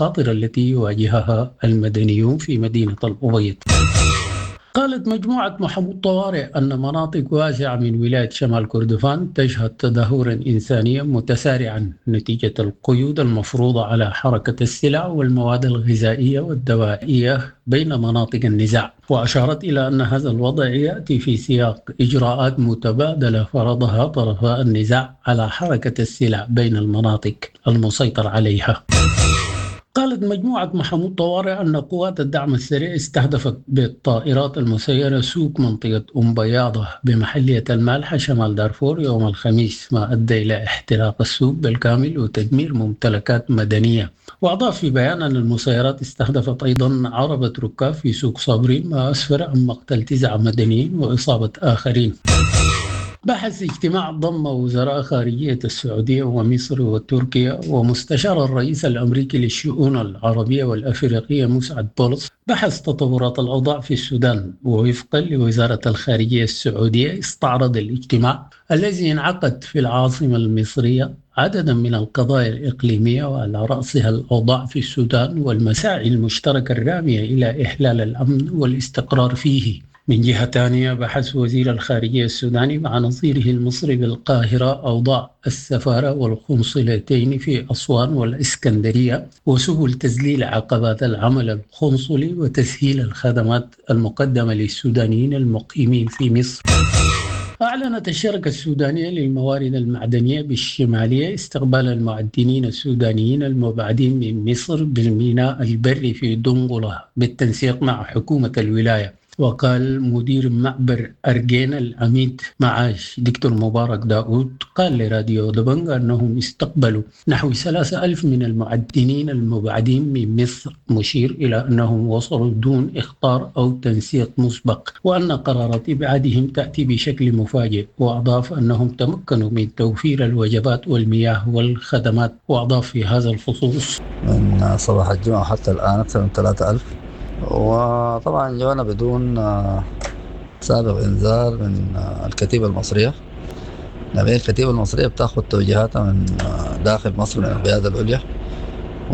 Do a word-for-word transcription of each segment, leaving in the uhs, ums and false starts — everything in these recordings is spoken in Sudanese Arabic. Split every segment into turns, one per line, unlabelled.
المخاطر التي يواجهها المدنيون في مدينة الأبيض. قالت مجموعة محمود طوارئ أن مناطق واسعة من ولاية شمال كردفان تشهد تدهورا إنسانيا متسارعا نتيجة القيود المفروضة على حركة السلع والمواد الغذائية والدوائية بين مناطق النزاع. وأشارت إلى أن هذا الوضع يأتي في سياق إجراءات متبادلة فرضها طرفا النزاع على حركة السلع بين المناطق المسيطر عليها. قالت مجموعة محمود طوارئ أن قوات الدعم السريع استهدفت بالطائرات المسيرة سوق منطقة أم بياضة بمحلية المالحة شمال دارفور يوم الخميس، ما أدى إلى احتراق السوق بالكامل وتدمير ممتلكات مدنية. وأضاف في بيان أن المسيرات استهدفت أيضا عربة ركاب في سوق صابرين، ما أسفر عن مقتل تسعة مدنيين وإصابة آخرين. بحث اجتماع ضم وزراء خارجية السعودية ومصر وتركيا ومستشار الرئيس الأمريكي للشؤون العربية والأفريقية مسعد بولس بحث تطورات الأوضاع في السودان. ووفقا لوزارة الخارجية السعودية استعرض الاجتماع الذي انعقد في العاصمة المصرية عددا من القضايا الإقليمية وعلى رأسها الأوضاع في السودان والمساعي المشتركة الرامية إلى إحلال الأمن والاستقرار فيه. من جهة ثانية بحث وزير الخارجية السوداني مع نظيره المصري بالقاهرة أوضاع السفارة والقنصلتين في أسوان والإسكندرية وسبل تذليل عقبات العمل القنصلي وتسهيل الخدمات المقدمة للسودانيين المقيمين في مصر. أعلنت الشركة السودانية للموارد المعدنية بالشمالية استقبال المعدنين السودانيين المبعدين من مصر بالميناء البري في دنقلة بالتنسيق مع حكومة الولاية. وقال مدير معبر أرجين العميد معاش دكتور مبارك داود قال لراديو دبنجا أنهم استقبلوا نحو ثلاثة ألف من المعدنين المبعدين من مصر، مشير إلى أنهم وصلوا دون إخطار أو تنسيق مسبق وأن قرارات إبعادهم تأتي بشكل مفاجئ. وأضاف أنهم تمكنوا من توفير الوجبات والمياه والخدمات. وأضاف في هذا الخصوص
من صباح الجمعة حتى الآن أكثر من ثلاثة ألف، وطبعا جونا بدون سابق انذار من الكتيبة المصرية. لأن الكتيبة المصرية بتاخذ توجيهاتها من داخل مصر من القيادة العليا،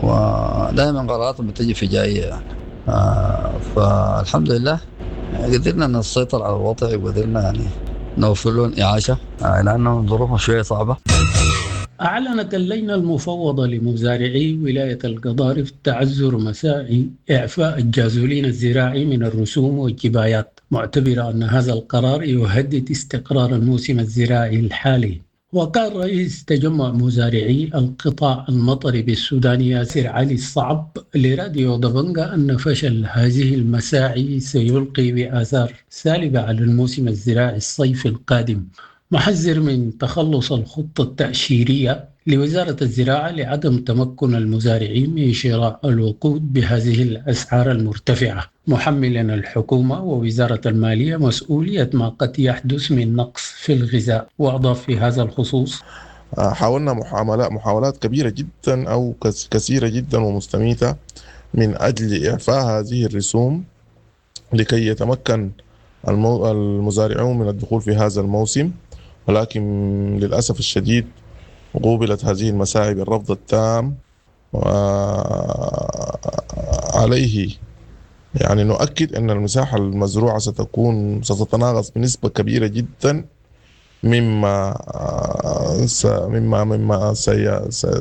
ودائما قراراتهم بتجي فجائية يعني. فالحمد لله قدرنا نسيطر على الوضع وقدرنا يعني نوفر لهم إعاشة لأنه ظروفهم شوية صعبة.
أعلنت اللجنة المفوضة لمزارعي ولاية القضارف تعذر مساعي إعفاء الجازولين الزراعي من الرسوم والجبايات، معتبرة أن هذا القرار يهدد استقرار الموسم الزراعي الحالي. وقال رئيس تجمع مزارعي القطاع المطري بالسودان ياسر علي الصعب لراديو دبنجا أن فشل هذه المساعي سيلقي بآثار سالبة على الموسم الزراعي الصيفي القادم، محذر من تخلص الخطة التأشيرية لوزارة الزراعة لعدم تمكن المزارعين من شراء الوقود بهذه الأسعار المرتفعة، محملا الحكومة ووزارة المالية مسؤولية ما قد يحدث من نقص في الغذاء. وأضاف في هذا الخصوص:
حاولنا محاولات كبيرة جدا أو كثيرة جدا ومستميتة من أجل إعفاء هذه الرسوم لكي يتمكن المزارعون من الدخول في هذا الموسم، ولكن للأسف الشديد قوبلت هذه المساعي بالرفض التام. وعليه يعني نؤكد أن المساحة المزروعة ستكون ستتناقص بنسبة كبيرة جدا مما مما مما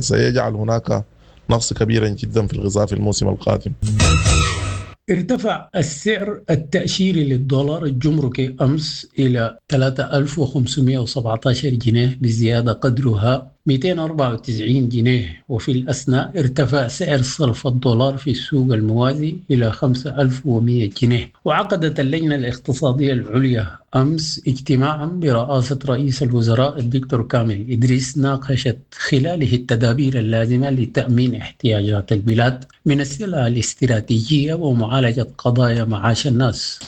سيجعل هناك نقص كبيرا جدا في الغذاء في الموسم القادم.
ارتفع السعر التأشيري للدولار الجمركي أمس إلى ثلاثة آلاف وخمسمائة وسبعة عشر جنيه بزيادة قدرها مئتين وأربعة وتسعين جنيه، وفي الأثناء ارتفع سعر صرف الدولار في السوق الموازي إلى خمسة آلاف ومئة جنيه. وعقدت اللجنة الاقتصادية العليا أمس اجتماعا برئاسة رئيس الوزراء الدكتور كامل إدريس ناقشت خلاله التدابير اللازمة لتأمين احتياجات البلاد من السلع الاستراتيجية ومعالجة قضايا معاش الناس.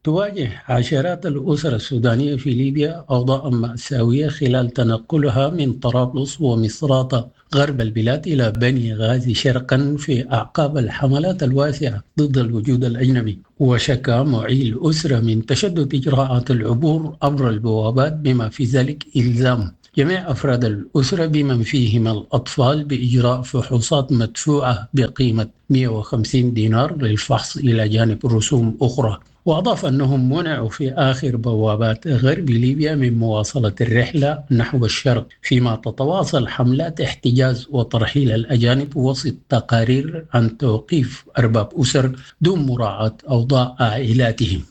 تواجه عشرات الأسر السودانية في ليبيا أوضاعا مأساوية خلال تنقلها من طرابلس ومصراتة غرب البلاد إلى بني غازي شرقا في أعقاب الحملات الواسعة ضد الوجود الأجنبي. وشكى معي الأسرة من تشدد إجراءات العبور عبر البوابات بما في ذلك إلزام جميع أفراد الأسرة بمن فيهم الأطفال بإجراء فحوصات مدفوعة بقيمة مئة وخمسين دينار للفحص إلى جانب رسوم أخرى. وأضاف أنهم منعوا في آخر بوابات غرب ليبيا من مواصلة الرحلة نحو الشرق، فيما تتواصل حملات احتجاز وترحيل الأجانب وسط تقارير عن توقيف أرباب أسر دون مراعاة أوضاع عائلاتهم.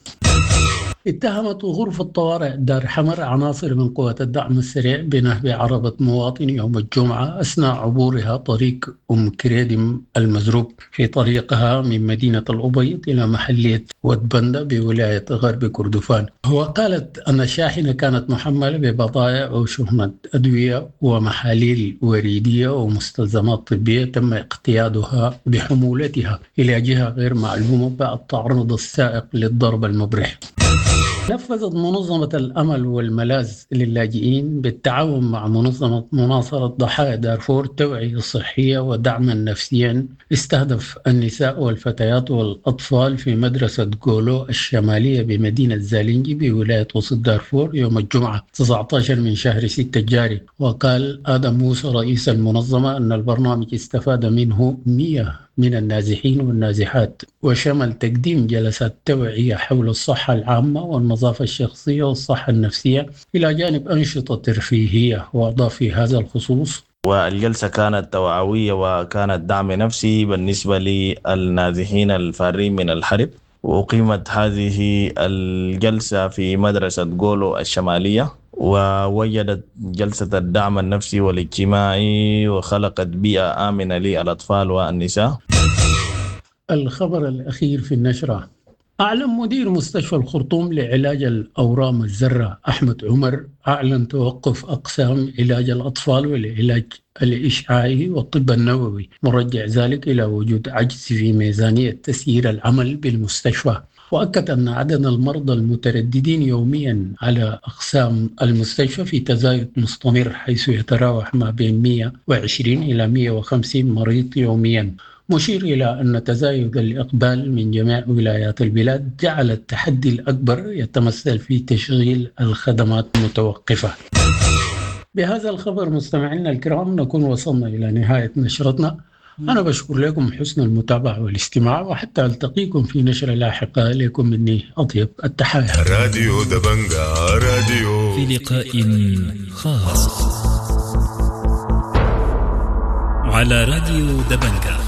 اتهمت غرفة طوارئ دار حمر عناصر من قوات الدعم السريع بنهب عربة مواطن يوم الجمعة أثناء عبورها طريق أم كريدم المزروب في طريقها من مدينة الأبيض إلى محلية ودبندة بولاية غرب كردفان. وقالت أن الشاحنة كانت محملة ببضائع وشحنة أدوية ومحاليل وريدية ومستلزمات طبية تم اقتيادها بحمولتها إلى جهة غير معلومة بعد تعرض السائق للضرب المبرح. نفذت منظمة الأمل والملاذ للاجئين بالتعاون مع منظمة مناصرة ضحايا دارفور توعية صحية ودعما نفسيا استهدف النساء والفتيات والأطفال في مدرسة جولو الشمالية بمدينة زالينجي بولاية وسط دارفور يوم الجمعة تسعة عشر من شهر ستة الجاري. وقال آدم موسى رئيس المنظمة أن البرنامج استفاد منه مئة من النازحين والنازحات، وشمل تقديم جلسات توعية حول الصحة العامة والنظافة الشخصية والصحة النفسية إلى جانب أنشطة ترفيهية. وأضاف في هذا الخصوص:
والجلسة كانت توعوية وكانت دعم نفسي بالنسبة للنازحين الفارين من الحرب، وأقيمت هذه الجلسة في مدرسة جولو الشمالية، ووجدت جلسة الدعم النفسي والاجتماعي وخلقت بيئة آمنة للأطفال والنساء.
الخبر الأخير في النشرة: أعلن مدير مستشفى الخرطوم لعلاج الأورام الذرة أحمد عمر أعلن توقف أقسام علاج الأطفال والعلاج الإشعاعي والطب النووي، مرجع ذلك إلى وجود عجز في ميزانية تسيير العمل بالمستشفى. وأكد أن عدد المرضى المترددين يوميا على أقسام المستشفى في تزايد مستمر، حيث يتراوح ما بين مئة وعشرين إلى مئة وخمسين مريض يوميا، مشير إلى أن تزايد الإقبال من جميع ولايات البلاد جعل التحدي الأكبر يتمثل في تشغيل الخدمات المتوقفة. بهذا الخبر مستمعينا الكرام نكون وصلنا إلى نهاية نشرتنا. أنا بشكر لكم حسن المتابعة والاستماع، وحتى ألتقيكم في نشرة لاحقة. لكم مني أطيب التحايا.
راديو دبنجا راديو
في لقاء خاص على راديو دبنجا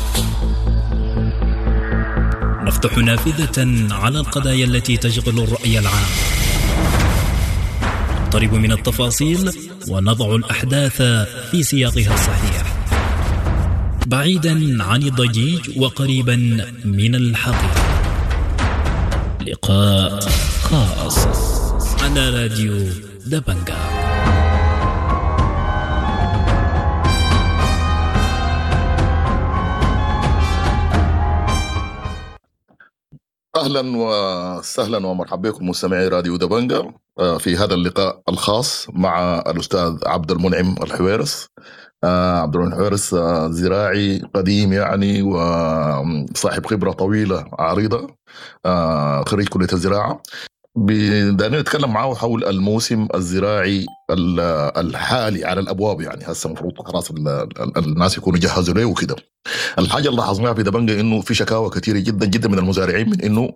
نفتح نافذة على القضايا التي تشغل الرأي العام، نقترب من التفاصيل ونضع الأحداث في سياقها الصحيح، بعيدا عن الضجيج وقريبا من الحقيقة. لقاء خاص على راديو دبنجا.
أهلا وسهلا ومرحبا بكم مستمعي راديو دبنجا في هذا اللقاء الخاص مع الأستاذ عبد المنعم الحويرس. عبد المنعم الحويرس زراعي قديم يعني وصاحب خبرة طويلة عريضة، خريج كلية الزراعة. بدنا نتكلم معه حول الموسم الزراعي الحالي على الأبواب، يعني هسه المفروض خلاص الناس يكونوا جهزوا له وكده. الحاجة اللي لاحظناها في دبنجة إنه في شكاوى كثيرة جدا جدا من المزارعين من إنه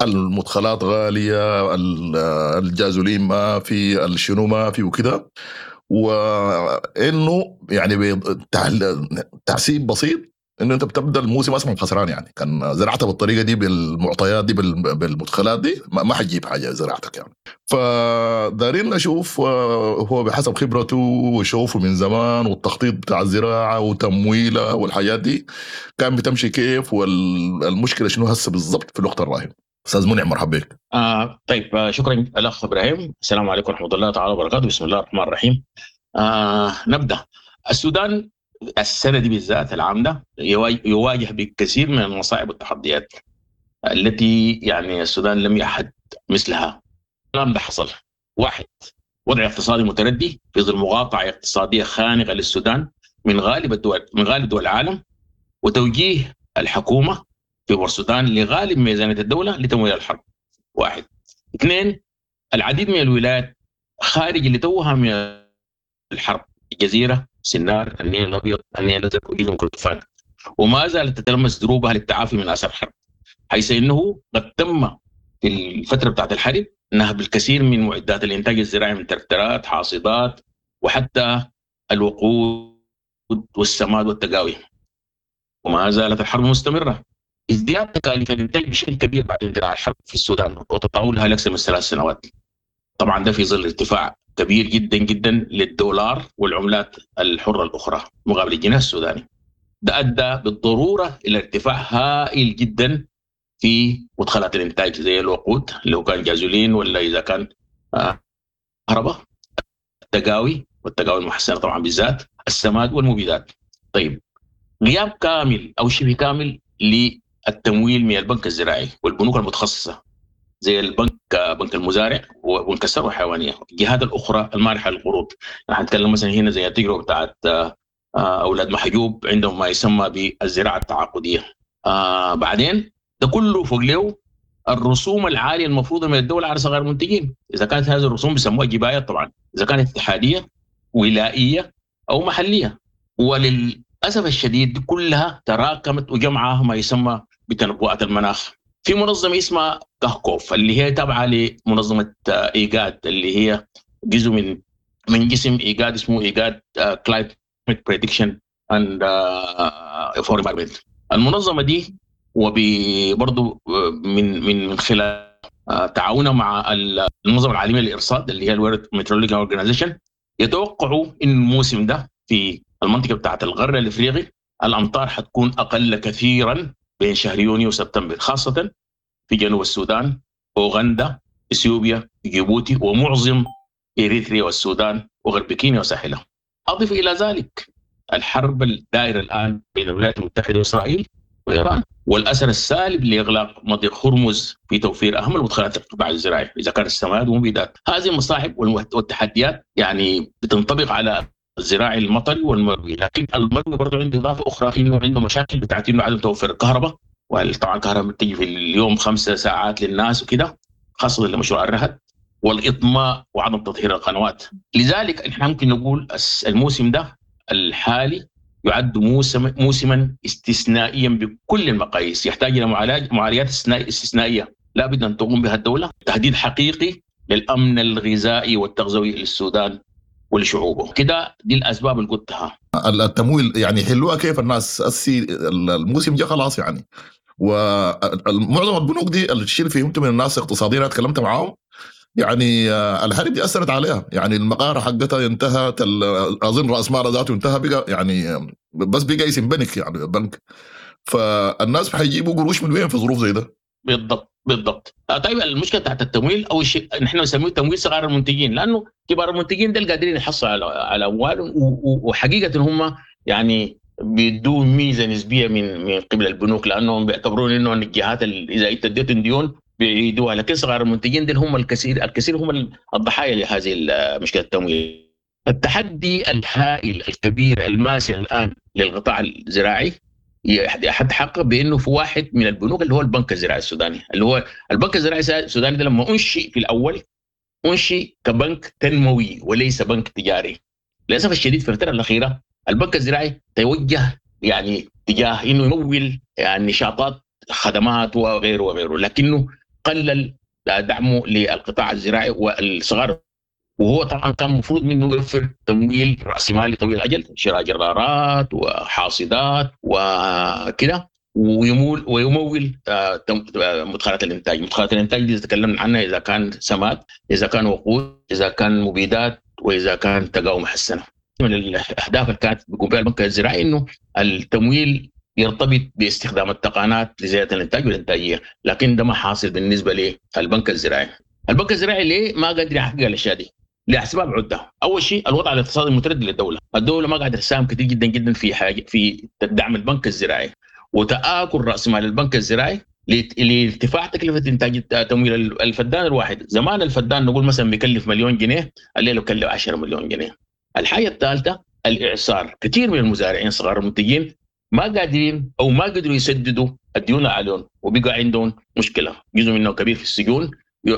المدخلات غالية، الجازولين ما في، الشنو ما في وكده، وإنه يعني بتحسيب بسيط إنه أنت بتبدأ الموسم أصلا خسران. يعني كان زرعتها بالطريقة دي بالمعطيات دي بالمدخلات دي ما حتجيب حاجة زراعتك يعني. فدارين نشوف هو بحسب خبرته وشوفه من زمان والتخطيط بتاع الزراعة وتمويلها والحاجات دي كان بتمشي كيف، والمشكلة شنو هسه بالضبط في الوقت الراهن. أستاذ منعم مرحبا بك.
آه طيب شكرا الأخ إبراهيم. السلام عليكم ورحمة الله تعالى وبركاته. بسم الله الرحمن الرحيم. آه نبدأ. السودان السنة دي بالذات العام ده يواجه بكثير من المصاعب والتحديات التي يعني السودان لم يعهد مثلها. الكلام ده حصل: واحد، وضع اقتصادي متردي في ظل مقاطعة اقتصادية خانقة للسودان من غالب الدول من غالب دول العالم، وتوجيه الحكومة في بورسودان لغالب ميزانية الدولة لتمويل الحرب. واحد. اثنين، العديد من الولايات خارج اللي توها من الحرب، الجزيرة، سنار، النيل الأبيض، النيل الأزرق وجزء من كردفان، وما زالت تتلمس دروبها للتعافي من آثار الحرب، حيث إنه قد تم في الفترة بتاعت الحرب نهب الكثير من معدات الإنتاج الزراعي من تركترات، حاصدات، وحتى الوقود والسماد والتقاوي. وما زالت الحرب مستمرة. ازدياد تكاليف الإنتاج بشكل كبير بعد اندلاع الحرب في السودان وتطاولها لأكثر من ثلاث سنوات. طبعا ده في ظل ارتفاع كبير جدا جدا للدولار والعملات الحرة الأخرى مقابل الجنيه السوداني. ده أدى بالضرورة إلى ارتفاع هائل جدا في مدخلات الإنتاج زي الوقود لو كان جازولين ولا إذا كان كهرباء، التقاوي والتقاوي المحسنة طبعا بالذات، السماد والمبيدات. طيب، غياب كامل أو شبه كامل للتمويل من البنك الزراعي والبنوك المتخصصة زي البنك بنك المزارع وبنك الثروة الحيوانية، الجهات الأخرى المانحة للقروض. نحن نتكلم مثلا هنا زي التجربة بتاعت أولاد محجوب عندهم ما يسمى بالزراعة التعاقدية. آه بعدين ده كله فوق له الرسوم العالية المفروضة من الدولة على صغار المنتجين، إذا كانت هذه الرسوم بيسموها جباية طبعا، إذا كانت اتحادية ولائية أو محلية. وللأسف الشديد كلها تراكمت وجمعها ما يسمى بتنبؤات المناخ. في منظمة اسمها كهكوف اللي هي تابعة لمنظمة إيجاد، اللي هي جزء من من جسم إيجاد اسمه إيجاد Climate Prediction and for Environment. المنظمة دي وبرضه من من من خلال تعاونها مع المنظمة العالمية للإرصاد اللي هي ال World Meteorological Organization، يتوقعوا إن الموسم ده في المنطقة بتاعت الغرب الإفريقي الأمطار حتكون أقل كثيرا بين شهر يونيو وسبتمبر، خاصة في جنوب السودان، أوغندا، إثيوبيا، جيبوتي، ومعظم إريتريا والسودان وغرب كينيا وساحلها. أضف إلى ذلك الحرب الدائرة الآن بين الولايات المتحدة وإسرائيل وإيران، والأثر السالب لإغلاق مضيق هرمز في توفير أهم المدخلات القطاع الزراعي إذا كان السماد ومبيدات. هذه المصاعب والتحديات يعني بتنطبق على الزراعي المطري والمروي، لكن المروي برضه عنده إضافة أخرى إنه عنده مشاكل بتاعت إنه عدم توفر الكهرباء، وطبعا الكهرباء بتجي في اليوم خمسة ساعات للناس وكده، خاصة لمشروع الرهد والإطماء وعدم تطهير القنوات. لذلك نحن ممكن نقول الموسم ده الحالي يعد موسم موسما استثنائيا بكل المقاييس، يحتاج الى معالجات استثنائية لا بد ان تقوم بها الدولة، تهديد حقيقي للامن الغذائي والتغذوي للسودان ولشعوبه. كده دي الاسباب اللي قلتها.
التمويل يعني حلوها كيف الناس السي الموسم جاء خلاص يعني، ومعظم البنوك دي الشيء اللي فهمته من الناس اقتصاديا انا تكلمت معاهم يعني الحرب دي اثرت عليها، يعني المقاره حقتها انتهت، اظن راس مالها ذاته انتهى، بقى يعني بس بقى اسم بنك يعني بنك، فالناس حيجيبوا قروش من وين في ظروف زي ده؟
بالضبط بالضبط. طيب المشكلة تحت التمويل اول شيء نحن نسميه تمويل صغار المنتجين، لانه كبار المنتجين دول قادرين يحصلوا على على اموالهم، وحقيقة هم يعني بيدوا ميزة نسبيه من من قبل البنوك، لانهم بيعتبرون انه الجهات اذا انت اديتهم ديون بيعيدوها، لكن صغار المنتجين دول هم الكثير الكثير هم الضحايا لهذه مشكلة التمويل. التحدي الهائل الكبير الماسع الان للقطاع الزراعي يتحقق بانه في واحد من البنوك اللي هو البنك الزراعي السوداني، اللي هو البنك الزراعي السوداني ده لما انشئ في الاول انشئ كبنك تنموي وليس بنك تجاري. للاسف الشديد في الفترة الاخيرة البنك الزراعي توجه يعني تجاه انه يمول يعني نشاطات خدمات وغيره وغيره، لكنه قلل دعمه للقطاع الزراعي والصغار، وهو طبعا كان المفروض منه يوفر تمويل راسمالي طويل الاجل، شراء جرارات وحاصدات وكده، ويمول ويمول مدخلات الانتاج. مدخلات الانتاج دي تكلمنا عنها اذا كان سماد، اذا كان وقود، اذا كان مبيدات، واذا كان تقاوم محسنة. من الاهداف اللي كانت بيقوم بها البنك الزراعي انه التمويل يرتبط باستخدام التقنيات لزيادة الانتاج والانتاجية، لكن ده ما حاصل بالنسبة للبنك الزراعي. البنك الزراعي ليه ما قادر يحقق الاشياء دي؟ لاسباب عده. اول شيء الوضع الاقتصادي المتردي للدولة، الدولة ما قاعدة تساهم كثير جدا جدا في حاجة في دعم البنك الزراعي، وتآكل راس مال البنك الزراعي لارتفاع تكلفة انتاج تمويل الفدان الواحد. زمان الفدان نقول مثلا بيكلف مليون جنيه، الليلة بيكلف عشرة مليون جنيه. الحاجة الثالثة الاعصار، كثير من المزارعين صغار المنتجين ما قادرين او ما قدروا يسددوا الديون عليهم، وبقى عندهم مشكلة، جزء منهم كبير في السجون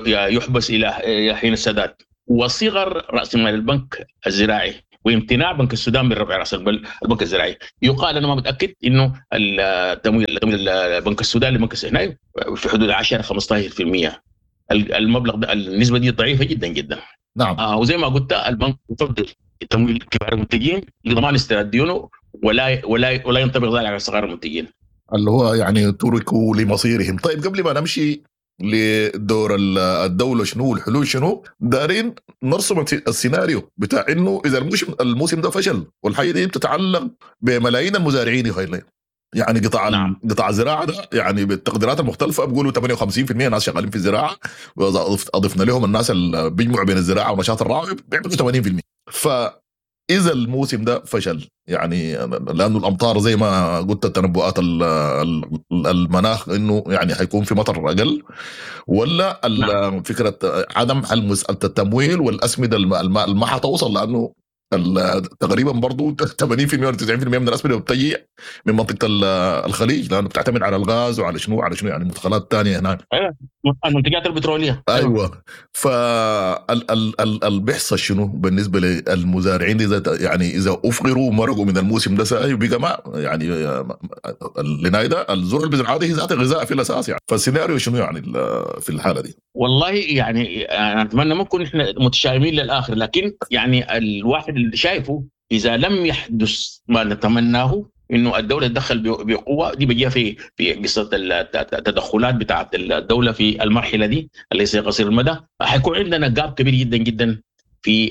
يحبس الى حين السداد. وصغر راس مال البنك الزراعي وامتناع بنك السودان من رفع راس البنك الزراعي. يقال انا ما متاكد انه التمويل تمويل بنك السودان لبنك السودان في حدود عشرة خمسة عشر بالمئة. المبلغ ده النسبة دي ضعيفة جدا جدا.
نعم.
آه وزي ما قلت البنك يفضل تمويل كبار المنتجين لضمان استرداد ديونه، ولا ولا ولا ينطبق ذلك على صغار المنتجين
اللي هو يعني تركوا لمصيرهم. طيب قبل ما نمشي لدور الدولة شنو والحلول شنو، دارين نرسم السيناريو بتاع انه اذا الموسم الموسم ده فشل، والحاجة دي بتتعلق بملايين المزارعين يا خيلي. يعني قطاع
نعم.
قطاع الزراعة ده يعني بالتقديرات المختلفة بيقولوا ثمانية وخمسين بالمئة ناس شغالين في الزراعة، واضفنا لهم الناس اللي بيجمعوا بين الزراعة ونشاط الرعي بيعملوا ثمانين بالمئة. فاذا الموسم ده فشل يعني لانه الامطار زي ما قلت التنبؤات المناخ انه يعني حيكون في مطر اقل، ولا
نعم.
فكرة عدم حل مسالة التمويل والاسمده ما حتوصل، لانه تقريبا برضو ثمانين بالمئة ولا تسعين بالمئة من الاسمده بتجي من منطقة الخليج، لانه بتعتمد على الغاز وعلى شنو وعلى شنو يعني مدخلات ثانية هناك.
ايوه المنتجات البتروليه.
ايوه. فال بيحصل شنو بالنسبة للمزارعين اذا يعني اذا افقروا ومرقوا من الموسم ده ساي وبقى ما يعني لنايدا الزرع اللي بيزرعها هي ذات غذاء في الاساس يعني، فالسيناريو شنو يعني في الحالة دي؟
والله يعني انا اتمنى ما نكون احنا متشائمين للاخر، لكن يعني الواحد اللي شايفه اذا لم يحدث ما نتمناه انه الدولة تدخل بقوة، دي بيجيها في في قصة التدخلات بتاعه الدولة في المرحلة دي اللي هي قصير المدى، حيكون عندنا جاب كبير جدا جدا في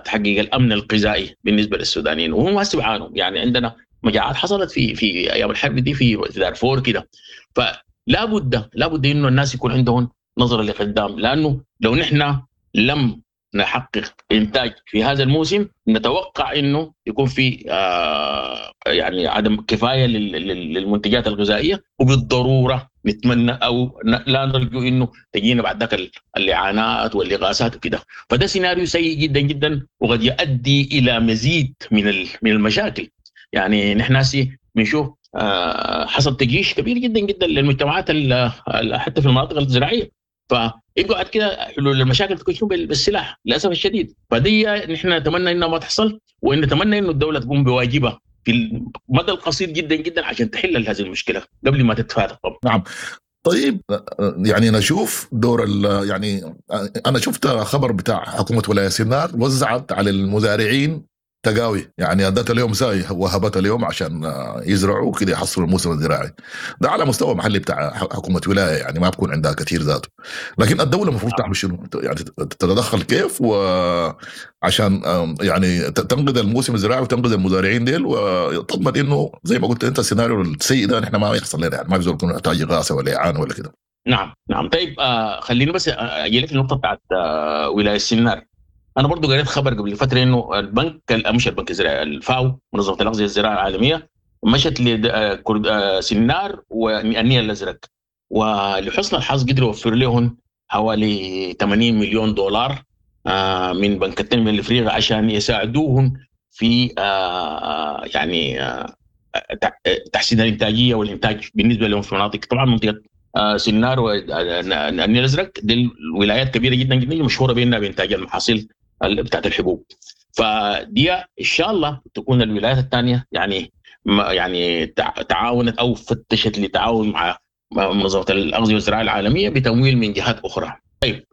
تحقيق الامن الغذائي بالنسبة للسودانيين، وهم هسه بيعانوا. يعني عندنا مجاعات حصلت في في ايام الحرب دي في دارفور كده، فلا بد لا بد انه الناس يكون عندهم نظره لقدام، لانه لو نحن لم نحقق انتاج في هذا الموسم نتوقع انه يكون في آه يعني عدم كفاية للمنتجات الغذائية، وبالضروره نتمنى او لا نرجو انه تجينا بعد ذاك الاعانات والاغاثات وكده. فده سيناريو سيء جدا جدا وقد يؤدي الى مزيد من من المشاكل. يعني نحن هسي بنشوف آه حصل تجيش كبير جدا جدا للمجتمعات حتى في المناطق الزراعية، فيبقى بعد كده حلول المشاكل تكون شنو؟ بالسلاح للاسف الشديد. فدي نحن نتمنى انها ما تحصل، وان نتمنى انه الدولة تقوم بواجبها في المدى القصير جدا جدا عشان تحل هذه المشكلة قبل ما تتفاقم.
نعم. طيب يعني نشوف دور يعني انا شفت خبر بتاع حكومة ولاية سنار وزعت على المزارعين تقاوي، يعني ادت اليوم ساي وهبت اليوم عشان يزرعوا كده يحصلوا الموسم الزراعي ده على مستوى محلي بتاع حكومة ولاية، يعني ما بكون عندها كثير ذاته. لكن الدولة المفروض تعمل شنو؟ يعني تتدخل كيف وعشان يعني تنقذ الموسم الزراعي وتنقذ المزارعين ديل، وتضمن انه زي ما قلت انت السيناريو السيء ده نحن ما يحصل لنا، يعني ما بيزول يكون محتاج اغاثه ولا اعانه ولا كده.
نعم نعم. طيب آه خليني بس اجي لك النقطة بتاعت آه ولاية سنار. انا برضو قريت خبر قبل فترة انه البنك مش البنك الزراعي، الفاو منظمة الاغذية الزراعية العالمية مشت لسنار والنيل الازرق، ولحسن الحظ قدروا يوفر لهم حوالي ثمانين مليون دولار من بنك التنمية الافريقي عشان يساعدوهم في يعني تحسين الانتاجية والانتاج بالنسبة لهم في مناطق، طبعا منطقة سنار والنيل الازرق دي الولايات كبيرة جدا جدا مشهورة بانها بانتاج المحاصيل بتاعت الحبوب. فدي ان شاء الله تكون الولايات الثانية يعني يعني تعاونت او فتشت لتعاون مع منظمة الاغذية والزراعة العالمية بتمويل من جهات اخرى. طيب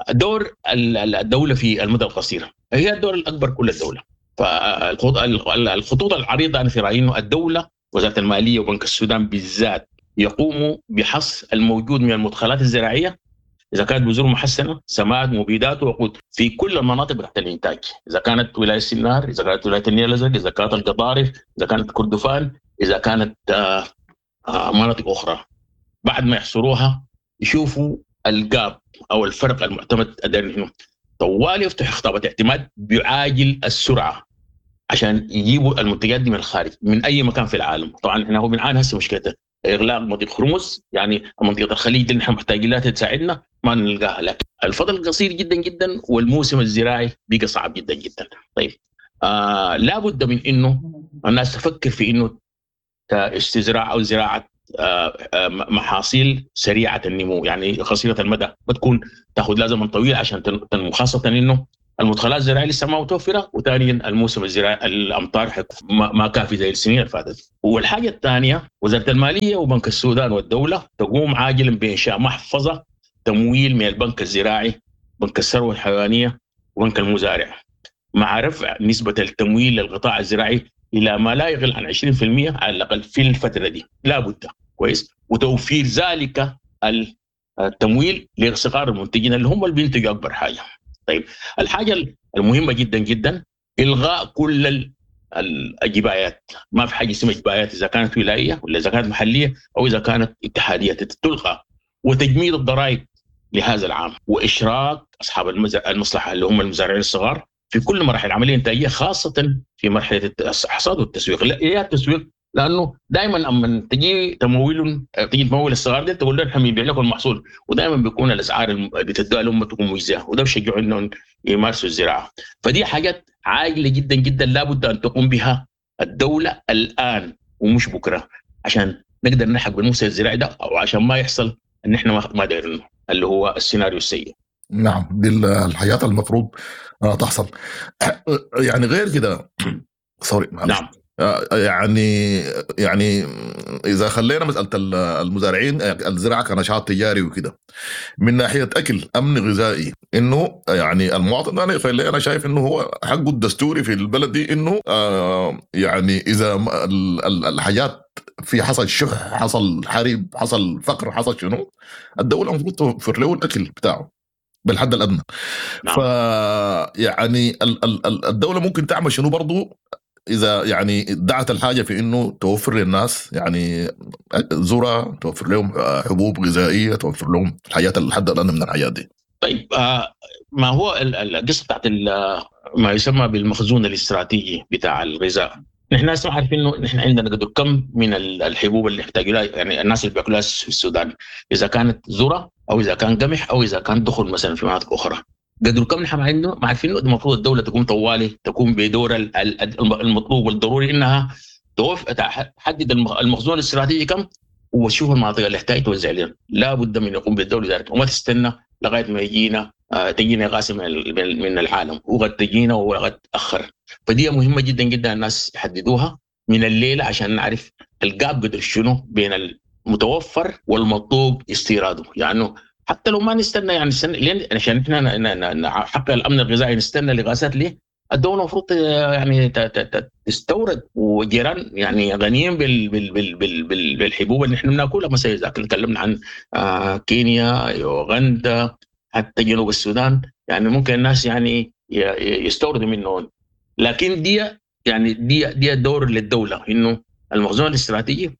دور الدولة في المدى القصير هي الدور الاكبر كل الدولة. فالخطوط العريضة انا في رايي انه الدولة وزارة المالية وبنك السودان بالذات يقوموا بحصر الموجود من المدخلات الزراعية اذا كانت بذور محسنة، سماد، مبيدات، وقود في كل المناطق تحت الانتاج، اذا كانت ولاية سنار، اذا كانت ولاية النيل الازرق، اذا كانت القضارف، اذا كانت كردفان، اذا كانت آه آه مناطق اخرى. بعد ما يحصروها يشوفوا الجاب او الفرق المعتمد هنا، طوال يفتح خطابه اعتماد بعاجل السرعة عشان يجيبوا المنتجات دي من الخارج من اي مكان في العالم. طبعا احنا هو بنعاني هسه مشكلته اغلاق مضيق هرمز، يعني منطقة الخليج اللي نحن محتاجين لها تساعدنا ما نلقاها، لكن الفضل قصير جدا جدا والموسم الزراعي بقى صعب جدا جدا. طيب آه لابد من انه الناس تفكر في انه استزراع او زراعة آه آه محاصيل سريعة النمو، يعني قصيرة المدى بتكون تاخذ لها زمن طويل عشان تنمو، خاصة انه المدخلات الزراعية لسه ما متوفرة، وثانيا الموسم الزراعي الامطار ما كافي زي السنين اللي فاتت. والحاجة الثانية وزارة المالية وبنك السودان والدولة تقوم عاجلا بانشاء محفظة تمويل من البنك الزراعي، بنك الثروة الحيوانية، وبنك المزارع، مع رفع نسبه التمويل للقطاع الزراعي الى ما لا يقل عن عشرين بالمئة على الاقل في الفترة دي، لابد. كويس، وتوفير ذلك التمويل لصغار المنتجين اللي هم اللي بينتجوا اكبر حاجة. طيب الحاجة المهمة جدا جدا الغاء كل الجبايات، ما في حاجة اسمها جبايات اذا كانت ولاية ولا اذا كانت محليه او اذا كانت اتحادية، تلغى، وتجميد الضرائب لهذا العام، واشراك اصحاب المصلحة اللي هم المزارعين الصغار في كل مراحل العملية الانتاجية، خاصة في مرحلة الحصاد والتسويق. لا التسويق لانه دائما اما تجي تمويل تجي تمول الصغار دي تقول لهم احنا بنبيع لكم المحصول، ودائما بيكون الاسعار اللي بتدوها لهم تكون مجزية، وده بيشجعوا انهم يمارسوا الزراعة. فدي حاجات عاجله جدا جدا لابد ان تقوم بها الدولة الان ومش بكره، عشان نقدر نلحق بالموسم الزراعي ده، او عشان ما يحصل ان احنا ما دايرينه اللي هو السيناريو السيء.
نعم، دي الحياة المفروض تحصل. يعني غير كده سوري نعم، يعني يعني اذا خلينا مسالة المزارعين الزراعة كنشاط تجاري وكده، من ناحية اكل امن غذائي، انه يعني المواطن انا انا شايف انه هو حقه الدستوري في البلد دي، انه يعني اذا الحاجات في حصل شح، حصل حرب، حصل فقر، حصل شنو، الدولة المفروض توفر له الاكل بتاعه بالحد الادنى. نعم. ف يعني الدولة ممكن تعمل شنو برضو إذا يعني دعت الحاجة في إنه توفر للناس يعني ذرة، توفر لهم حبوب غذائية، توفر لهم الحياة الحد الأدنى من الحياة دي.
طيب آه ما هو القصة بتاعت ما يسمى بالمخزون الاستراتيجي بتاع الغذاء. نحن هسه عارفين إنه نحن عندنا قدر كم من الحبوب اللي يحتاجوا لها يعني الناس اللي بياكلوها في السودان، إذا كانت ذرة أو إذا كان قمح أو إذا كان دخل مثلا في مناطق أخرى. قدر كم نحن ما عارفين انه المفروض الدولة تقوم طوالي تقوم بدور المطلوب والضروري انها توف تحدد المخزون الاستراتيجي كم، وتشوف المناطق اللي تحتاج توزع لهم. لا بد من يقوم بالدولة ذلك، وما تستنى لغاية ما يجينا تجينا غاز من العالم، وقد تجينا وقد تاخر. فدي مهمة جدا جدا الناس يحددوها من الليلة عشان نعرف الجاب قدر شنو بين المتوفر والمطلوب استيراده. يعني حتى لو ما نستنى يعني نستنى لين عشان احنا نحقق الامن الغذائي نستنى لغازات ليه؟ الدولة المفروض يعني تستورد، وجيران يعني غنيين بال بال بال بال بال بالحبوب اللي احنا بناكلها. مثلا اذا تكلمنا عن كينيا، يوغندا، حتى جنوب السودان، يعني ممكن الناس يعني يستوردوا منهم. لكن دي يعني دي دي دور للدولة انه المخزون الاستراتيجي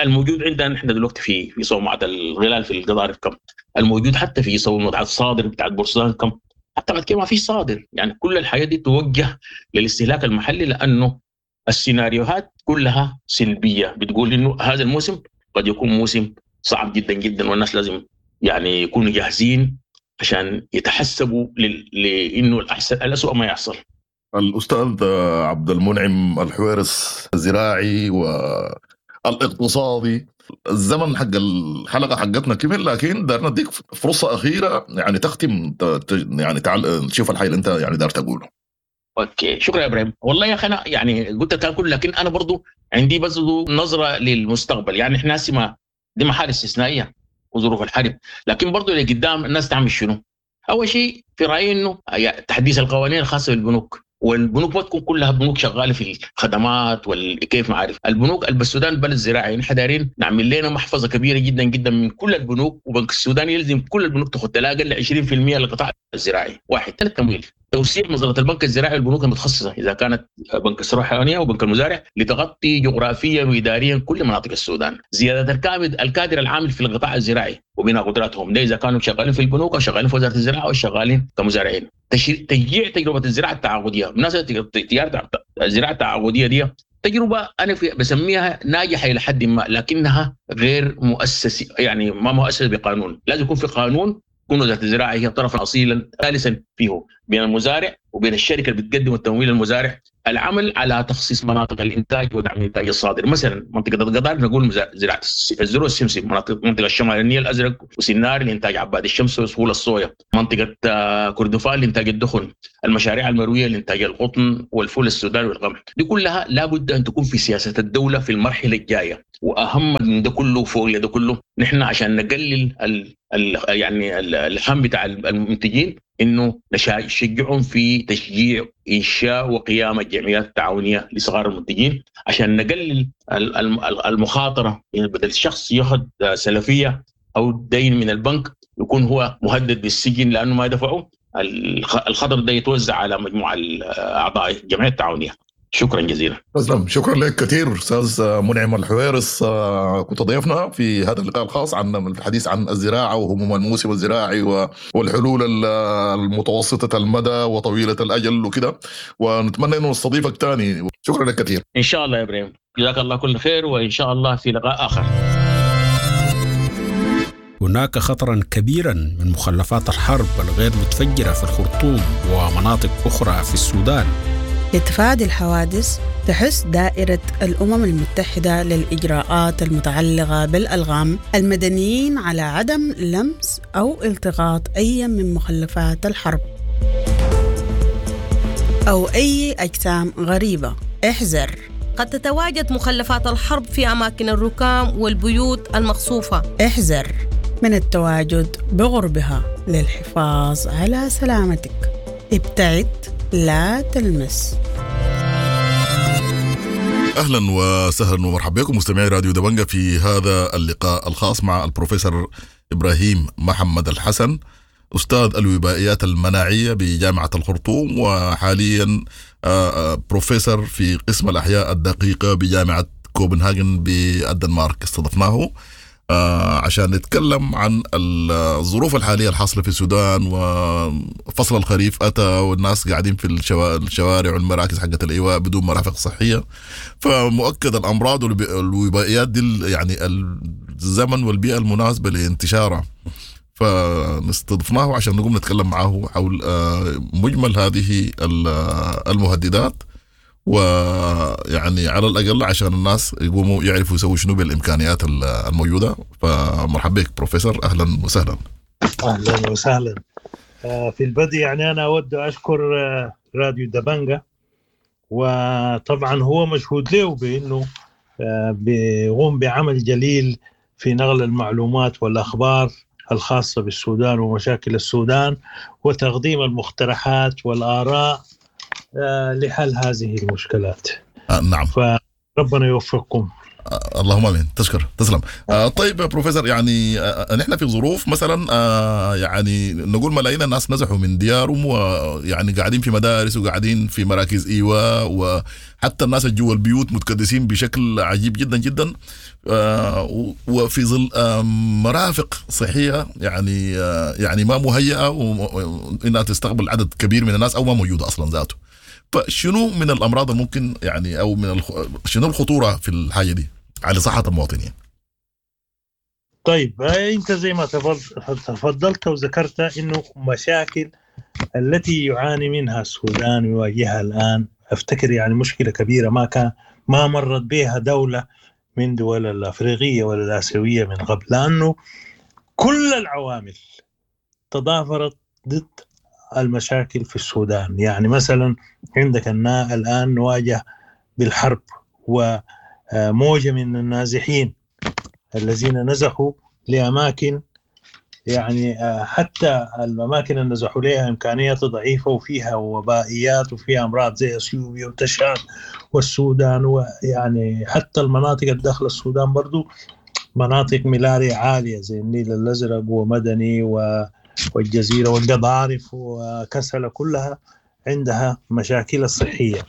الموجود عندنا نحن دلوقتي في في صومعة الغلال في القضارف كم، الموجود حتى في صومعة الصادر بتاع بورسودان كم، حتى بعد كده ما في صادر. يعني كل الحياة دي توجه للاستهلاك المحلي، لانه السيناريوهات كلها سلبية بتقول انه هذا الموسم قد يكون موسم صعب جدا جدا، والناس لازم يعني يكونوا جاهزين عشان يتحسبوا لانه الاحسن الاسوء ما يحصل.
الاستاذ عبد المنعم الحويرص، الزراعي و الاقتصادي، الزمن حق الحلقة حقتنا كمل، لكن دارنا نديك فرصة اخيرة يعني تختم يعني تعال تشوف الحي اللي انت يعني دار تقوله.
okay، شكرا يا ابراهيم. والله يا اخي انا يعني قلت الكلام كله، لكن انا برضو عندي بس نظره للمستقبل. يعني احنا ما دي محال استثنائية وظروف الحرب، لكن برضو اللي قدام الناس تعمل شنو؟ اول شيء في رايي انه تحديث القوانين الخاصة بالبنوك، والبنوك ما تكون كلها بنوك شغالة في الخدمات والكيف ما عارف. البنوك السودان بلد زراعي، نحن دايرين نعمل لنا محفظة كبيرة جدا جدا من كل البنوك، وبنك السودان يلزم كل البنوك تاخذ لا اقل عشرين بالمئة للقطاع الزراعي. واحد. ثلاث، تمويل، توسيع مظلة البنك الزراعي والبنوك المتخصصة اذا كانت بنك الثروة الحيوانية وبنك المزارع لتغطي جغرافيا واداريا كل مناطق السودان. زيادة الكادر العامل في القطاع الزراعي وبناء قدراتهم، ده اذا كانوا شغالين في البنوك او شغالين في وزارة الزراعة او شغالين كمزارعين. تشجيع تجربه الزراعة التعاقديه، بالمناسبة الزراعة التعاقديه دي تجربه انا في بسميها ناجحة الى حد ما، لكنها غير مؤسسة، يعني ما مؤسسة بقانون. لازم يكون في قانون تكون وزارة الزراعة هي الطرف الاصيل ثالثا فيه بين المزارع وبين الشركة اللي بتقدم التمويل للمزارع. العمل على تخصيص مناطق الانتاج ودعم الانتاج الصادر، مثلا منطقة القضارف نقول زراعة الذرة والسمسم، مناطق منطقة الشمال النيل الازرق وسنار لانتاج عباد الشمس وسهول الصويا، منطقة كردفان لانتاج الدخن، المشاريع المروية لانتاج القطن والفول السوداني والقمح. دي كلها لابد ان تكون في سياسة الدولة في المرحلة الجاية. واهم من ده كله فوق ده كله نحن عشان نقلل ال ال يعني الهم بتاع المنتجين انه نشجعهم في تشجيع انشاء وقيام الجمعيات التعاونية لصغار المنتجين عشان نقلل المخاطرة. يعني بدل الشخص ياخذ سلفية او دين من البنك يكون هو مهدد بالسجن لانه ما دفعه، الخطر ده يتوزع على مجموعة اعضاء الجمعية التعاونية. شكرا جزيلا.
تسلم، شكرا لك كثير استاذ منعم الحويرص، كنت ضيفنا في هذا اللقاء الخاص عن الحديث عن الزراعة وهموم الموسم الزراعي والحلول المتوسطة المدى وطويلة الاجل وكده، ونتمنى انه نستضيفك ثاني. شكرا لك كثير.
ان شاء الله يا ابراهيم، جزاك الله كل خير، وان شاء الله في لقاء اخر.
هناك خطرا كبيرا من مخلفات الحرب الغير متفجرة في الخرطوم ومناطق أخرى في السودان.
لتفادي الحوادث تحث دائرة الأمم المتحدة للإجراءات المتعلقة بالألغام المدنيين على عدم لمس أو التقاط أي من مخلفات الحرب أو أي أجسام غريبة. احذر،
قد تتواجد مخلفات الحرب في أماكن الركام والبيوت المقصوفة.
احذر من التواجد بغربها للحفاظ على سلامتك. ابتعد، لا تلمس.
اهلا وسهلا ومرحبا بكم مستمعي راديو دبنجة في هذا اللقاء الخاص مع البروفيسور ابراهيم محمد الحسن، استاذ الوبائيات المناعية بجامعة الخرطوم، وحاليا بروفيسور في قسم الاحياء الدقيقة بجامعة كوبنهاجن بالدنمارك. استضفناه عشان نتكلم عن الظروف الحالية الحاصلة في السودان، وفصل الخريف أتى والناس قاعدين في الشوارع والمراكز حقت الإيواء بدون مرافق صحية، فمؤكد الأمراض والوبائيات دي يعني الزمن والبيئة المناسبة لانتشارها، فنستضفناه عشان نقوم نتكلم معه حول مجمل هذه المهددات، ويعني على الأقل عشان الناس يقوموا يعرفوا يسووا شنو بالإمكانيات الموجودة. فمرحبا بك بروفيسور، أهلا وسهلا.
أهلا وسهلا. في البدء يعني أنا أود أشكر راديو دبنجة، وطبعا هو مشهود له بأنه بيقوم بعمل جليل في نقل المعلومات والأخبار الخاصة بالسودان ومشاكل السودان، وتقديم المقترحات والآراء لحل هذه المشكلات.
آه نعم،
فربنا يوفقكم.
آه اللهم امين، تشكر، تسلم. آه طيب يا بروفيسور، يعني آه نحن في ظروف مثلا آه يعني نقول ملايين الناس نزحوا من ديارهم، ويعني قاعدين في مدارس وقاعدين في مراكز ايواء، وحتى الناس اللي جوا البيوت متكدسين بشكل عجيب جدا جدا، آه وفي ظل آه مرافق صحية يعني آه يعني ما مهيئة انها تستقبل عدد كبير من الناس او ما موجودة اصلا ذاته. فشنو من الامراض الممكن يعني او من الخ... شنو الخطورة في الحاجة دي على صحة المواطنين؟
طيب انت زي ما تفضلت وذكرت انه مشاكل التي يعاني منها السودان ويواجهها الان، افتكر يعني مشكلة كبيرة ما كان ما مرت بها دولة من دول الافريقية ولا الاسيوية من قبل، لانه كل العوامل تضافرت ضد المشاكل في السودان. يعني مثلا عندك الآن نواجه بالحرب وموجة من النازحين الذين نزحوا لأماكن، يعني حتى الأماكن اللي نزحوا لها إمكانيات ضعيفة وفيها وبائيات وفيها أمراض زي أثيوبيا وتشاد والسودان، ويعني حتى المناطق الداخل السودان برضو مناطق ملاريا عالية زي النيل الأزرق ومدني و والجزيرة والقضارف وكسلة، كلها عندها مشاكل الصحية.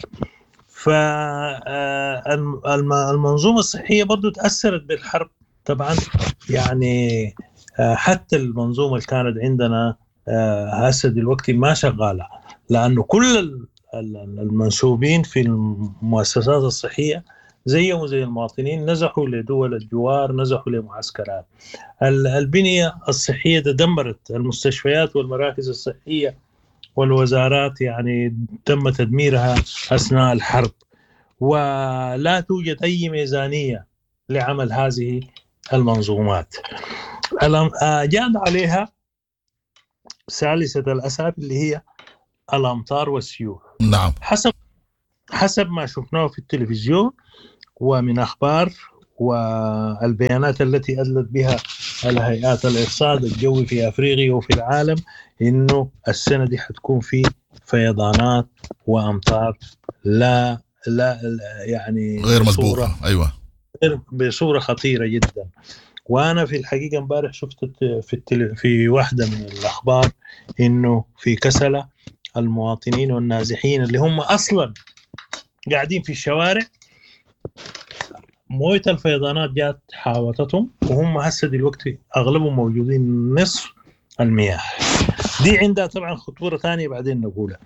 فالمنظومة الصحية برضو تأثرت بالحرب طبعا، يعني حتى المنظومة اللي كانت عندنا هسه دلوقتي ما شغالة، لأنه كل المنسوبين في المؤسسات الصحية زيهم زي المواطنين نزحوا لدول الجوار، نزحوا لمعسكرات. البنية الصحية تدمرت، المستشفيات والمراكز الصحية والوزارات يعني تم تدميرها أثناء الحرب، ولا توجد أي ميزانية لعمل هذه المنظومات. جاء عليها ثالثة الأسباب اللي هي الأمطار والسيول.
نعم.
حسب حسب ما شفناه في التلفزيون ومن أخبار والبيانات التي أدلت بها الهيئات الإرصاد الجوي في أفريقيا وفي العالم، إنه السنة دي حتكون في فيضانات وأمطار لا لا يعني
غير مسبوقة. أيوة،
بصورة خطيرة جدا. وأنا في الحقيقة امبارح شفت في التل... في واحدة من الأخبار إنه في كسلة المواطنين والنازحين اللي هم أصلا قاعدين في الشوارع موية الفيضانات جات حاوطتهم، وهم هسه دلوقتي أغلبهم موجودين نصف المياه دي. عندها طبعا خطورة ثانية بعدين نقولها.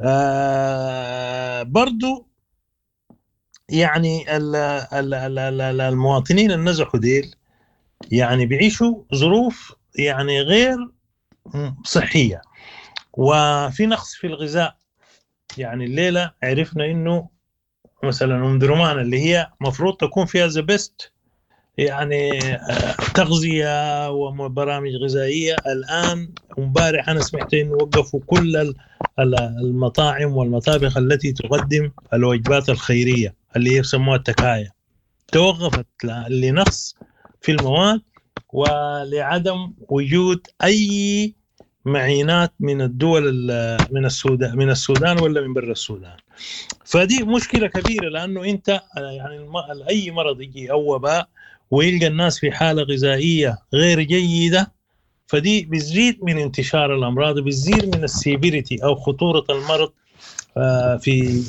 آه برضو يعني ال ال ال المواطنين النزحوا ديل يعني بيعيشوا ظروف يعني غير صحية، وفي نقص في الغذاء. يعني الليلة عرفنا إنه مثلا أم درمان اللي هي مفروض تكون فيها the best يعني تغذية وبرامج غذائية، الآن امبارح أنا سمعت إنه وقفوا كل المطاعم والمطابخ التي تقدم الوجبات الخيرية اللي هي يسموها التكاية، توقفت لنقص في المواد ولعدم وجود أي معينات من الدول من السودان من السودان ولا من برا السودان. فدي مشكلة كبيرة، لأنه أنت يعني أي مرض يجي أو وباء ويلقى الناس في حالة غذائية غير جيدة، فدي بتزيد من انتشار الأمراض، بتزيد من السيفيريتي أو خطورة المرض. في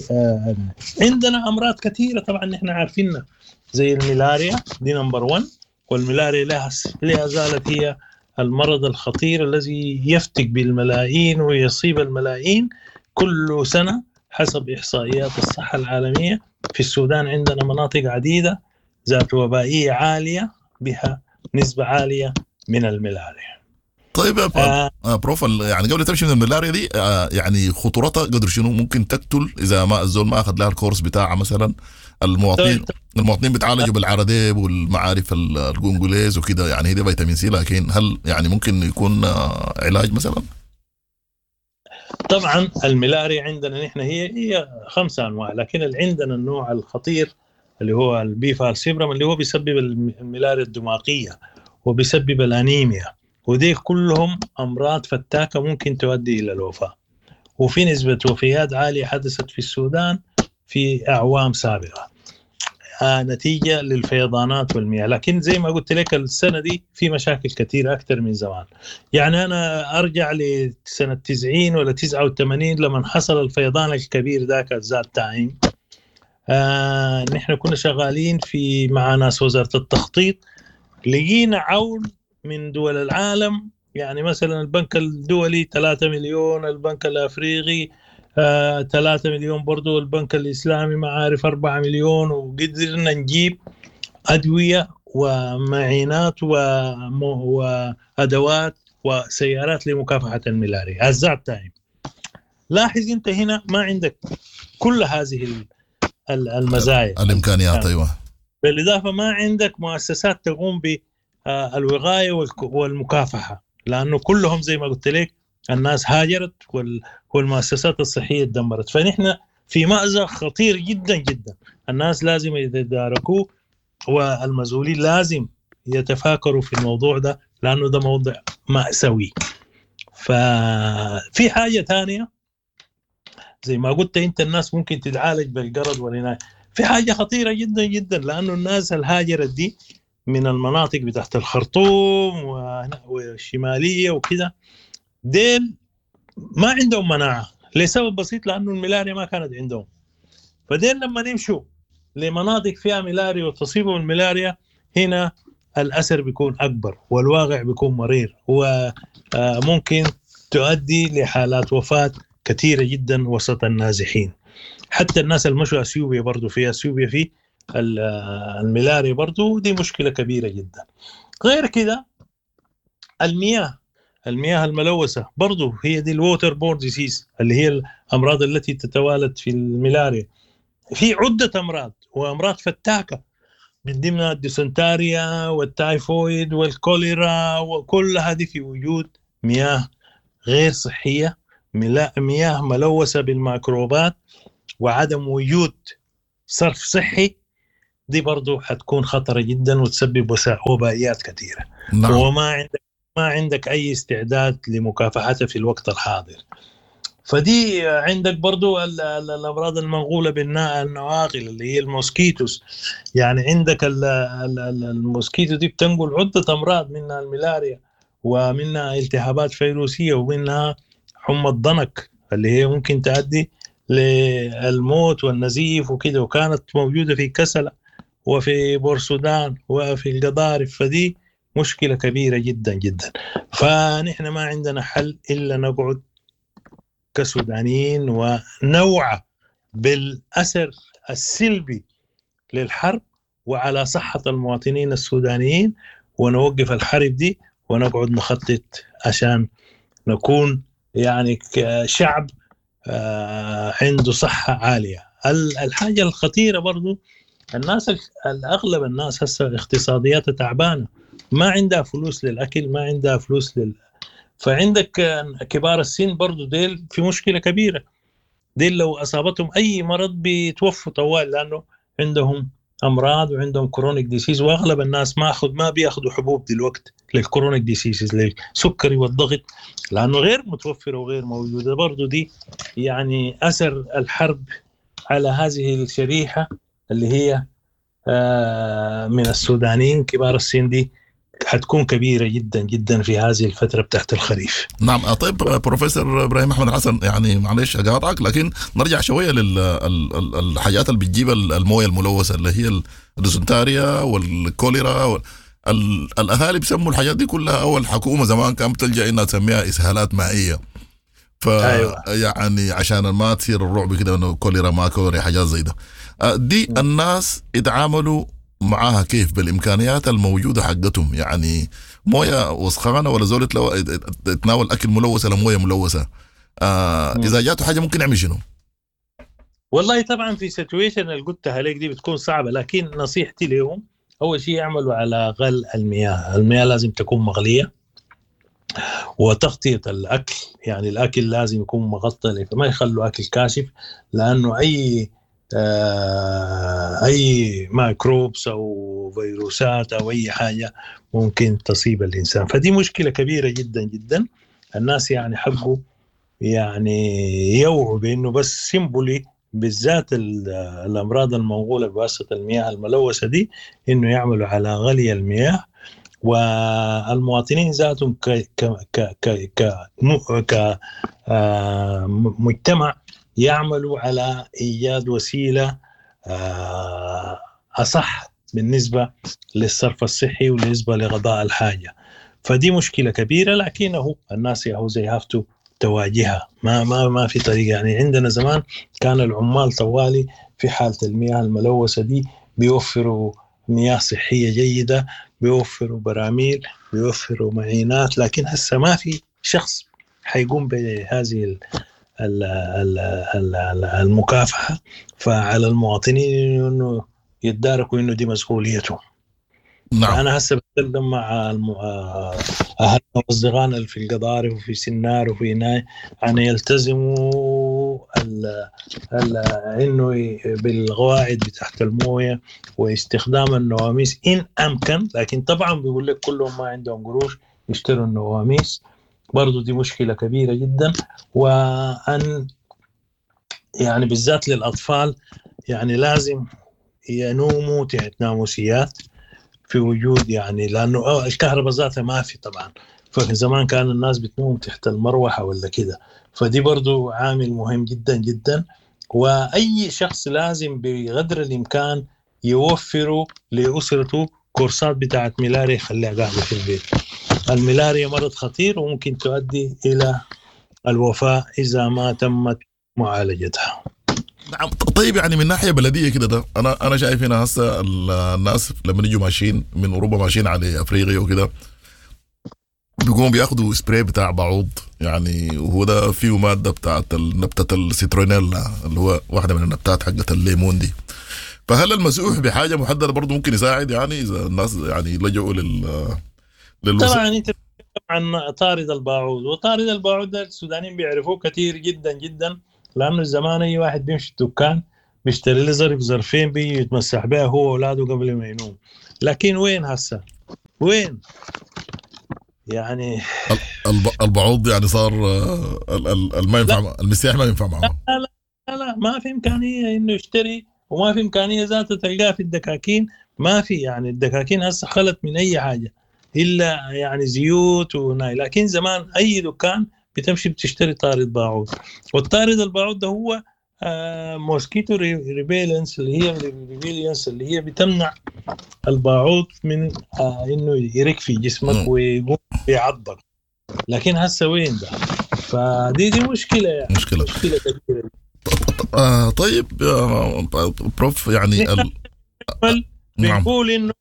عندنا أمراض كثيرة طبعا نحن عارفينها زي الملاريا، دي number واحد، والملاريا لها لا زالت هي المرض الخطير الذي يفتك بالملايين ويصيب الملايين كل سنة حسب إحصائيات الصحة العالمية. في السودان عندنا مناطق عديدة ذات وبائية عالية بها نسبة عالية من الملاريا.
طيب آه بروف، يعني قبل تمشي من الملاريا دي آه يعني خطورتها قدر شنو؟ ممكن تقتل إذا ما الزول ما أخذ لها الكورس بتاعها مثلا. المواطنين المواطنين بيتعالجوا بالعرديب والمعارف الجونجوليز وكده، يعني هي دي فيتامين سي، لكن هل يعني ممكن يكون علاج مثلا؟
طبعا الملاريا عندنا نحن هي هي خمسة انواع، لكن اللي عندنا النوع الخطير اللي هو ال P falciparum اللي هو بيسبب الملاريا الدماغية وبيسبب الانيميا، ودي كلهم امراض فتاكة ممكن تؤدي الى الوفاة. وفي نسبة وفيات عالية حدثت في السودان في اعوام سابقة آه نتيجة للفيضانات والمياه. لكن زي ما قلت لك السنة دي في مشاكل كثيرة أكثر من زمان. يعني أنا أرجع لسنة تسعين ولا تسعة وثمانين لما حصل الفيضان الكبير ذاك that time، آه نحن كنا شغالين في مع ناس وزارة التخطيط، لقينا عون من دول العالم، يعني مثلا البنك الدولي ثلاثة مليون، البنك الأفريقي آه، ثلاثة مليون برضو، البنك الإسلامي ما عارف أربعة مليون، وقدرنا نجيب أدوية ومعينات وأدوات وسيارات لمكافحة الملاريا. at that time لاحظ أنت هنا ما عندك كل هذه المزايا
الإمكانيات. أيوة،
بالإضافة ما عندك مؤسسات تقوم بالوقاية والمكافحة، لأنه كلهم زي ما قلت لك الناس هاجرت والمؤسسات الصحية تدمرت. فنحن في مأزق خطير جدا جدا، الناس لازم يتداركوه والمسؤولين لازم يتفاكروا في الموضوع ده، لأنه ده موضوع مأساوي. ففي حاجة تانية زي ما قلت أنت، الناس ممكن تتعالج بالقرض والعناية. في حاجة خطيرة جدا جدا، لأنه الناس الهاجرت دي من المناطق بتاعت الخرطوم والشمالية وكده، ديل ما عندهم مناعة لسبب بسيط، لأنه الملاريا ما كانت عندهم. فديل لما نمشوا لمناطق فيها ملاريا وتصيبهم الملاريا، هنا الأثر بيكون أكبر والواقع بيكون مرير، وممكن تؤدي لحالات وفاة كثيرة جدا وسط النازحين. حتى الناس المشوا أثيوبيا برضو، في أثيوبيا في الملاريا برضو دي مشكلة كبيرة جدا. غير كده المياه، المياه الملوثة برضو هي دي ال water borne disease اللي هي الأمراض التي تتوالد في الملاريا. في عدة أمراض وأمراض فتاكة من ضمنها الديسنتاريا والتايفويد والكوليرا، وكل هذه في وجود مياه غير صحية، مياه ملوثة بالميكروبات وعدم وجود صرف صحي، دي برضو حتكون خطرة جدا وتسبب وبائيات كثيرة. نعم. وما عندك ما عندك أي استعداد لمكافحتها في الوقت الحاضر. فدي عندك برضو الأمراض المنقولة بالنواقل اللي هي ال mosquitoes. يعني عندك ال mosquito دي بتنقل عدة أمراض، منها الملاريا ومنها التهابات فيروسية ومنها حمى الضنك اللي هي ممكن تؤدي للموت والنزيف وكده، وكانت موجودة في كسلة وفي بورسودان وفي القضارف. فدي مشكلة كبيرة جدا جدا. فنحن ما عندنا حل إلا نقعد كسودانيين ونوعى بالأثر السلبي للحرب وعلى صحة المواطنين السودانيين، ونوقف الحرب دي ونقعد نخطط عشان نكون يعني شعب عنده صحة عالية. الحاجة الخطيرة برضو الناس، الأغلب الناس هسه اقتصادياتها تعبانة، ما عندها فلوس للأكل، ما عندها فلوس لل... فعندك كبار السن برضو ديل في مشكلة كبيرة، ديل لو أصابتهم أي مرض بيتوفوا طوال لأنه عندهم أمراض وعندهم chronic disease، وأغلب الناس ما أخذ ما بيأخذوا حبوب دلوقتي لل chronic diseases للسكري والضغط لأنه غير متوفرة وغير موجودة. برضو دي يعني أثر الحرب على هذه الشريحة اللي هي من السودانيين كبار السن دي حتكون كبيرة جدا جدا في هذه الفترة بتاعت الخريف.
نعم. طيب بروفيسور إبراهيم أحمد حسن، يعني معلش أقاطعك لكن نرجع شوية للحاجات اللي بتجيب الموية الملوثة اللي هي الديسنتاريا والكوليرا وال... الأهالي بيسموا الحاجات دي كلها، أو الحكومة زمان كانت بتلجأ إنها تسميها إسهالات مائية. ف أيوة. يعني عشان ما تصير الرعب كده إنه كوليرا ما كوليرا حاجات زي ده. دي الناس اتعاملوا معاها كيف بالإمكانيات الموجودة حقتهم؟ يعني موية وسخانة ولا زول يتناول أكل ملوث ولا موية ملوثة، آه إذا جاته حاجة ممكن يعمل شنو؟
والله طبعا في situation اللي قلتها عليك دي بتكون صعبة، لكن نصيحتي لهم أول شيء يعملوا على غل المياه. المياه لازم تكون مغلية، وتغطية الأكل، يعني الأكل لازم يكون مغطى، فما يخلوا أكل كاشف، لأنه أي أي microbes أو فيروسات أو أي حاجة ممكن تصيب الإنسان. فدي مشكلة كبيرة جدا جدا. الناس يعني حقوا يعني يوعوا بأنه بس simply بالذات الأمراض المنقولة بواسطة المياه الملوثة دي، إنه يعملوا على غلي المياه، والمواطنين ذاتهم ك ك ك ك ك مجتمع يعملوا على إيجاد وسيلة أصح بالنسبة للصرف الصحي وبالنسبة لغضاء الحاجة. فدي مشكلة كبيرة، لكنه الناس يهو زي هافتو تواجهها، ما ما ما في طريقة. يعني عندنا زمان كان العمال طوالي في حالة المياه الملوثة دي بيوفروا مياه صحية جيدة، بيوفروا براميل، بيوفروا معينات، لكن هسه ما في شخص حيقوم بهذه المكافحة. فعلى المواطنين انه يتداركوا انه دي مسؤوليتهم. نعم. انا هسه بتكلم مع اهلنا واصدقائنا اللي في القضارف وفي سنار وفي ناي ان يلتزموا ال ال انه بالقواعد بتاعت المويه واستخدام النواميس ان امكن، لكن طبعا بيقول لك كلهم ما عندهم قروش يشتروا النواميس، برضو دي مشكلة كبيرة جدا. وأن يعني بالذات للأطفال يعني لازم ينوموا تحت ناموسيات في وجود، يعني لأنه الكهرباء ذاتها ما في طبعا، فزمان كان الناس بتنوم تحت المروحة ولا كده، فدي برضو عامل مهم جدا جدا. وأي شخص لازم بقدر الإمكان يوفروا لأسرته كورسات بتاعت ملاريا يخليها قاعدة في البيت. الملاريا مرض خطير وممكن تؤدي إلى الوفاة إذا ما تمت معالجتها.
نعم، طيب يعني من ناحية بلديه كده ده انا انا شايف هنا هسه الناس لما يجوا ماشيين من اوروبا ماشيين على افريقيا وكده بيقوموا بياخدوا سبراي بتاع بعوض، يعني وهو ده فيه مادة بتاعت نبته السيترونيلا اللي هو واحدة من النبتات حقت الليمون دي. فهل المسوح بحاجة محددة برضه ممكن يساعد يعني اذا الناس يعني لجؤوا لل
للوس... طبعا انت عن طارد الباعوض، وطارد الباعوض ده السودانيين بيعرفوه كثير جدا جدا، لانه زمان اي واحد بيمشي الدكان بيشتري له ظرف ظرفين بيجي يتمسح بها هو واولاده قبل ما ينوم. لكن وين هسه؟ وين؟ يعني
البعوض يعني صار ما ينفع، المسيح ما ينفع معه.
لا لا لا ما في امكانية انه يشتري، وما في امكانية ذاته تلقاه في الدكاكين، ما في يعني الدكاكين هسه خلت من اي حاجة الا يعني زيوت وناي، لكن زمان اي دكان بتمشي بتشتري طارد باعوض، والطارد الباعوض ده هو آه mosquito repellents اللي هي repellents اللي هي بتمنع الباعوض من آه انه يرك في جسمك ويقوم بيعضك. لكن هسه وين ده؟ فدي دي مشكلة يعني
مشكلة
مشكلة كبيرة.
آه طيب آه بروف يعني ال...
بنقول انه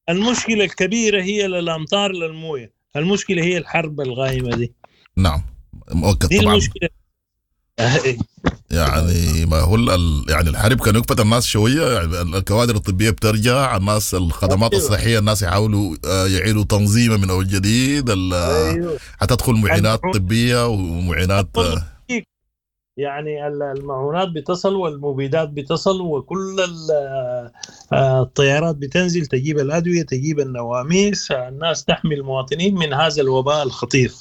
المشكلة الكبيرة هي للامطار للمويه، المشكلة هي الحرب الغايمه دي.
نعم مؤكد
دي
طبعا
المشكلة.
يعني ما هو ال... يعني الحرب كان يكفت الناس شوية، يعني الكوادر الطبية بترجع، الناس الخدمات
أيوة.
الصحية الناس يحاولوا يعيدوا تنظيمها من اول جديد،
أيوة.
حتدخل معينات طبية ومعينات
يعني المعونات بتصل والمبيدات بتصل وكل الطيارات بتنزل تجيب الأدوية تجيب النواميس، الناس تحمي المواطنين من هذا الوباء الخطير.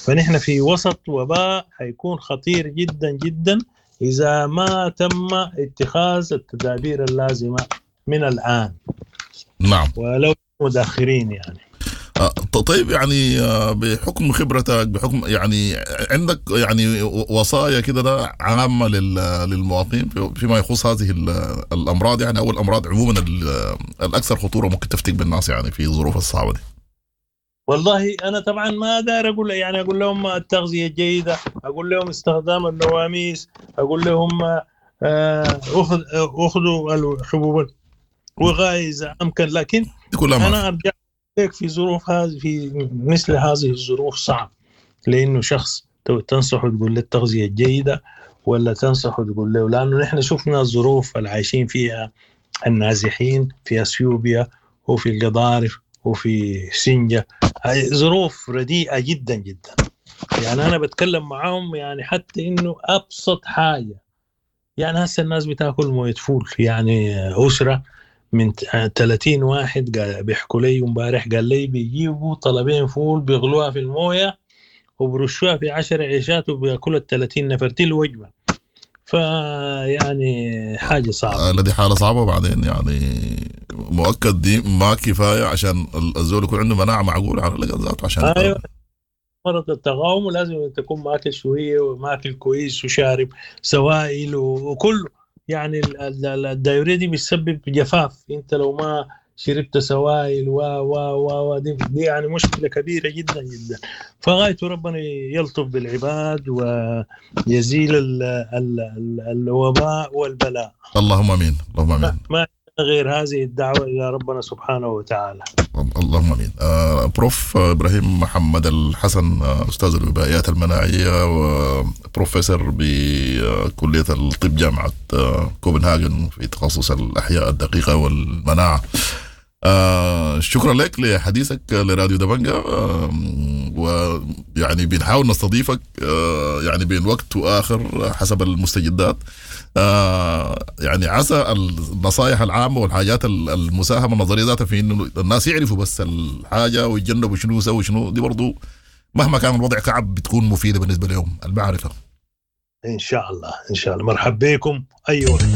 فنحن في وسط وباء حيكون خطير جدا جدا إذا ما تم اتخاذ التدابير اللازمة من الآن.
نعم
ولو متأخرين يعني.
طيب يعني بحكم خبرتك، بحكم يعني عندك يعني وصايا كده ده عامة للمواطنين فيما يخص هذه الأمراض يعني أو الأمراض عموما الأكثر خطورة ممكن تفتك بالناس يعني في الظروف الصعبة دي؟
والله أنا طبعا ما دار أقول يعني أقول لهم التغذية الجيدة، أقول لهم استخدام النواميس، أقول لهم أخذوا الحبوب الوقائية إذا أمكن، لكن أنا أرجع في ظروف هذه في مثل هذه الظروف صعب، لانه شخص تنصحه تقول له التغذية الجيدة ولا تنصحه تقول له، لانه نحن شفنا الظروف اللي عايشين فيها النازحين في اثيوبيا وفي القضارف وفي سنجه، ظروف رديئة جدا جدا. يعني انا بتكلم معاهم يعني حتى انه ابسط حاجة، يعني هسه الناس بتاكل مويه فول، يعني اسره من ثلاثين واحد بيحكوا لي امبارح، قال لي بيجيبوا طلبين فول بيغلوها في المويه وبرشوها في عشر عيشات وبياكلوا ال ثلاثين نفر دي الوجبة. فيعني حاجة صعبة،
الذي حاله صعبة. وبعدين يعني مؤكد دي ما كفاية عشان الزول يكون عنده مناعة معقولة على الاقل ذاته عشان
ايوه مرض التقاوم، ولازم تكون ماكل شوية وماكل كويس وشارب سوائل وكله. يعني ال diarrhea دي بتسبب جفاف، انت لو ما شربت سوائل و و و دي, دي يعني مشكلة كبيرة جدا جدا. فغايته ربنا يلطف بالعباد ويزيل ال ال ال الوباء والبلاء.
اللهم امين، اللهم امين.
ما غير هذه الدعوة الى ربنا سبحانه وتعالى.
اللهم امين. آه بروف ابراهيم محمد الحسن، استاذ الوبائيات المناعية وبروفيسور بكلية الطب جامعه كوبنهاجن في تخصص الاحياء الدقيقة والمناعة. آه شكرا لك لحديثك لراديو دبنجة، آه ويعني بنحاول نستضيفك آه يعني بين وقت واخر حسب المستجدات. آه يعني عسى النصائح العامة والحاجات المساهمة النظرية ذاتها في انه الناس يعرفوا بس الحاجة ويتجنبوا شنو يسوي شنو، دي برضو مهما كان الوضع كعب بتكون مفيدة بالنسبة لهم المعرفة.
ان شاء الله ان شاء الله. مرحبا بكم اي وقت.